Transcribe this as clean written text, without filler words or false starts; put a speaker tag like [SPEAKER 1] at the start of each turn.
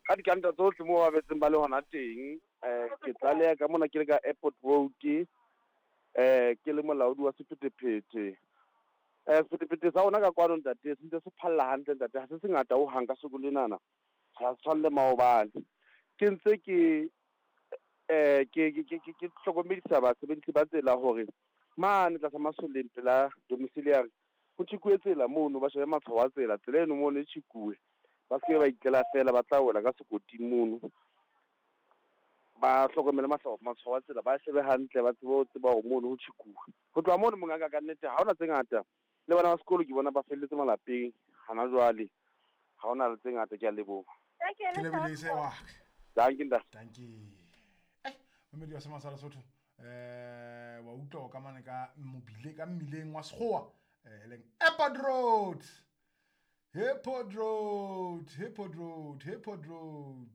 [SPEAKER 1] Ka dikanta tsohle moo ba betseng ba le hona teng, um ke tlaleha ka mona ke le ka Airport Road, um ke le molaodi wa sephethephethe. Um sephethephethe sa rona ka kwano ntate se ntse se phalla hantle ntate, ha se se ngata hohang ka soko lenana, ha se tshwane le maobane. Ke ntse ke um ke ke ke ke hlokomedisa basebedisi ba tsela hore mane tlasa masoleng pela domiciliary ho tjhekuwe tsela mono, ba shebe matshwao a tsela, tsela eno mono e tjhekuwe. Ba se ke ba itlela feela, ba tla wela ka sekoting mono. Ba hlokomele matshwao a tsela, ba shebe hantle, ba tsebe ho tseba hore mono ho tjhekuwe. Ho tloha mono mongaka ka nnete ha hona tse ngata, le bana ba sekolo ke bona ba felletse malapeng hana jwale. Ha hona le tse ngata, ke a leboha.
[SPEAKER 2] Ke lebohile se wa.
[SPEAKER 1] Dankie ntate.
[SPEAKER 2] Dankie. Eh, momedi wa Semasa Lesotho. Eh, wa utlwa o ka mane ka mobile ka mmileng wa Sekgowa, eh, e leng Airport Road. Airport Road, Airport Road, Airport Road.